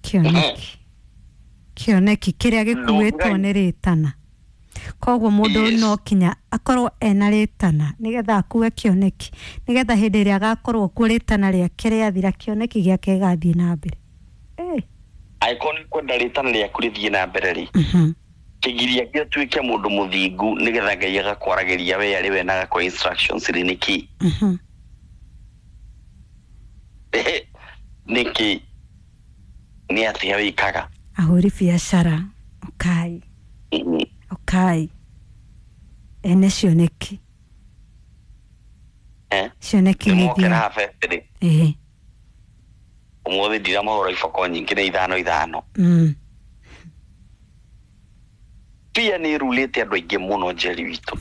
Kĩoneki, kĩoneki kĩrĩa gĩkuĩtwo nĩ rĩtana. Koguo mũndũ no kinya akorwo ena rĩtana nĩgetha akue kĩoneki, nĩgetha hĩndĩ ĩrĩa agakorwo kuo rĩtana rĩake rĩathira, kĩoneki gĩake gĩgathiĩ na mbere. Angĩkorwo nĩ kwenda rĩtana rĩaku rĩthiĩ na mbere rĩ, kĩgiria gĩtuĩke mũndũ mũthingu nĩgetha Ngai agakwaragĩria we arĩ we na agakũhe instructions rĩ, nĩkĩ? Nĩkĩ? Nĩ atĩa wĩkaga? Ahũri biacara ũkai, ũkai ene cioneki. Cioneki nĩ Nĩmokĩra habete rĩ. Ũmũthĩ ndiramahũra iboko nyingĩ, nĩ ithano ithano. Fear nĩ ĩrulĩte andũ aingĩ mũno, Njeri witũ.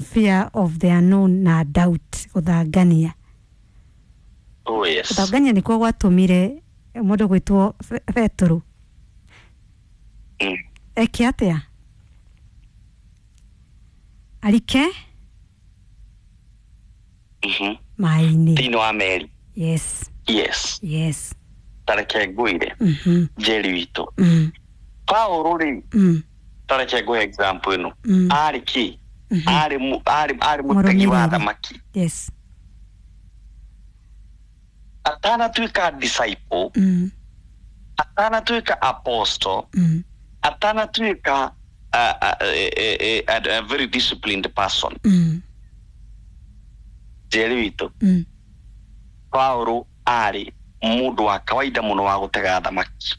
Fear of the unknown na doubt, gũthangania. Oh yes. Gũthangania nĩkuo gwatũmire mũndũ gwĩtwo Petero eke atĩa? Arike maĩ-inĩ. Thĩinĩ wa meri. Yes. Yes. Yes. Tareke ngwĩre, Njeri witũ, Paũlũ rĩ, tareke ngũhe example ĩno. Arĩ kĩ? Arĩ mũtegi wa Mũrũmĩrĩri. thamaki. Yes. Atanatuĩka disciple, atanatuĩka apostle, atanatuĩka a very disciplined person, Njeri witũ, Paũlũ arĩ mũndũ wa kawaida mũno wa gũtega thamaki.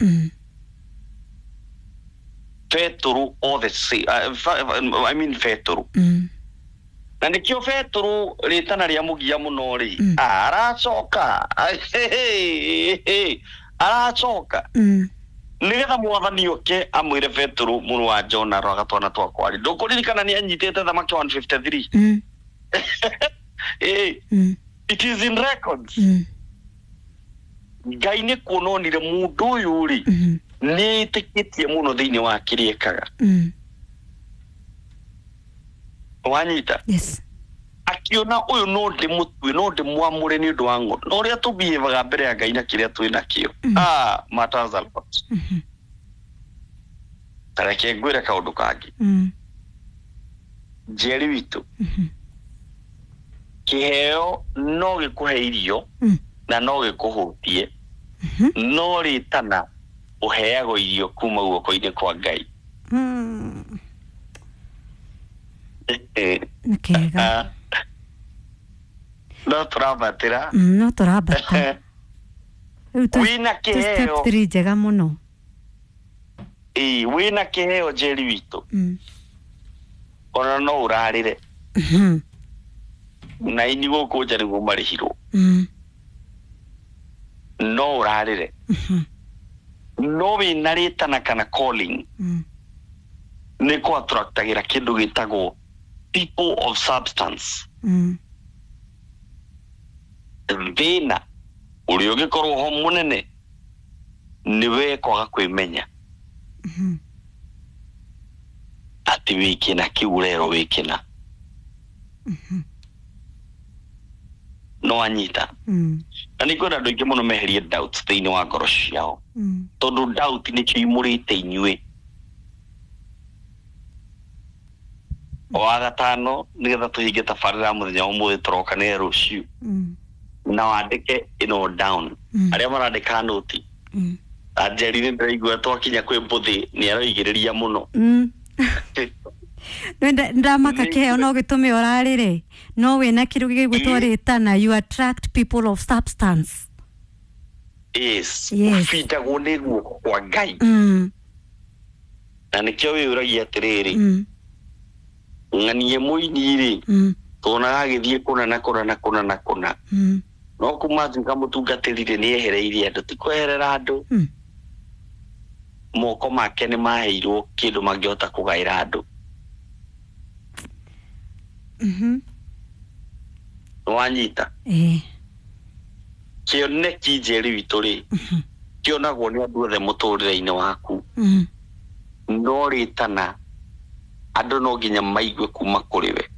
Petero all the same, I mean Petero, na nĩkĩo Petero rĩtana rĩa mũgia mũno rĩ, aracoka aracoka nĩgetha Mwathani oke amwĩre, "Petero mũrũ wa Jona, rora twana twakwa rĩ." Ndũkũririkana nĩ anyitĩte thamaki 153? It is in records. Ngai nĩ kuona onire mũndũ ũyũ rĩ, nĩ ĩtĩkĩtie mũno thĩinĩ wa kĩrĩa ekaga. Wanyita? Yes. Akiona ũyũ no ndĩmũtue, no ndĩmwamũre nĩ ũndũ wa ngo no ũrĩa tũbiĩvaga mbere ya Ngai na kĩrĩa twĩ nakĩo matters a lot. Ta reke ngwĩre kaũndũ kangĩ, Njeri witũ. Kĩheo no gĩkũhe irio na no gĩkũhũtie, no rĩtana ũheagwo irio kuma guoko-inĩ kwa Ngai. Nĩ kega. No tũrambatĩra. No tũrambata rĩu Wĩna tũ step kĩheo. 3 njega mũno. Ĩĩ, wĩna kĩheo, Njeri witũ, ona no ũrarĩre na ini gũkũ nja nĩguo marĩhirwo. No ũrarĩre, no wĩna rĩtana kana calling, nĩ kũ attractagĩra kĩndũ gĩtagwo people of substance. Thĩna ũrĩa ũngĩkorwo ho mũnene nĩ we kwaga kwĩmenya atĩ wĩ kĩna kĩu ũrerwo wĩ kĩna. No anyita. Na nĩ ngwenda andũ aingĩ mũno meherie doubts thĩinĩ wa ngoro ciao, tondũ doubt nĩkĩo imũrĩte inyuĩ. Wa gatano, nĩgetha tũhinge tabarĩra ya mũthenya wa ũmũthĩ, tũroka nĩ rũciũ, na wandĩke ĩno down, arĩa marandĩka noti. Anjeri, nĩ ndĩraigua twakinya kwĩ mbũthĩ nĩ aroigĩrĩria mũno. Ndamaka kĩheo no gĩtũme ũrarĩre, no wĩna kĩndũ gĩgwĩtwo rĩtana, you attract people of substance. Yes. Yes. Ũbindagwo nĩ guoko kwa Ngai. Na nĩkĩo wĩyũragia atĩrĩrĩ, ng'anie mũini rĩ, tuonaga agĩthiĩ kũna na kũna na kũna na kũna, no kuma atuĩka mũtungatĩri rĩ, nĩ ehereirie andũ. Ti kweherera andũ, moko make nĩ maheirwo kĩndũ mangĩhota kũgaĩra andũ. Wanyita? Eh. Kĩoneki, Njeri witũ rĩ, kĩonagwo nĩ andũ othe mũtũrĩre-inĩ waku, no rĩtana andũ no nginya maigue kuma kũrĩ we.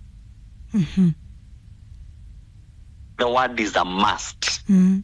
The word is a must. Must.